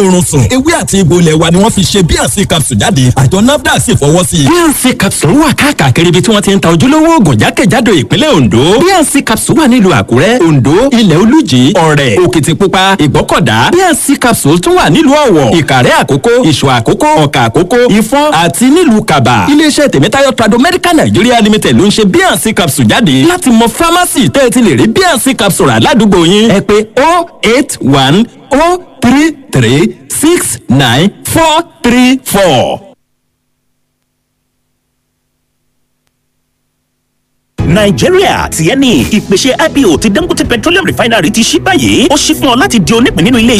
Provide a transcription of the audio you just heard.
oorun sùn. Ewé àti egbò ilẹ̀ wa ni wọ́n fi ṣe BNC capsule jáde. Àjọ NAFDAC sì fọwọ́ sí i. BNC capsule wà káàkiri ibi tí wọ́n ti ń ta ojúlówó oògùn jákèjádò ìpínlẹ̀ Ondo. BNC capsule wà nílùú Àkúrẹ́, Ondo, Ilẹ̀ Olújì, Ọ̀rẹ̀, Òkìtìpupa, Ìgbọ́kọ̀dá. BNC capsule tún wà nílùú Ọ̀wọ̀, Ìkàrẹ́ Àkókó, Ìṣọ̀ Àkókó, Ọ̀kà Àkókó, Ìfọ̀n àti nílùú Kàbà. Iléeṣẹ́ Tèmítáyọ̀ Trado Medical Nigeria Limited ló ń ṣe BNC capsule jáde. Láti mọ fámásì tẹ́ ẹ ti lè rí BNC capsule rà ládùúgbò yín, ẹ pè 081 033 69 434. Nàìjíríà tiẹ̀ ni ìpèsè IPO ti Dangote Petroleum Refinery ti ṣí báyìí. Ó ṣí fún ọ láti di onípìn nínú ilé iṣẹ́.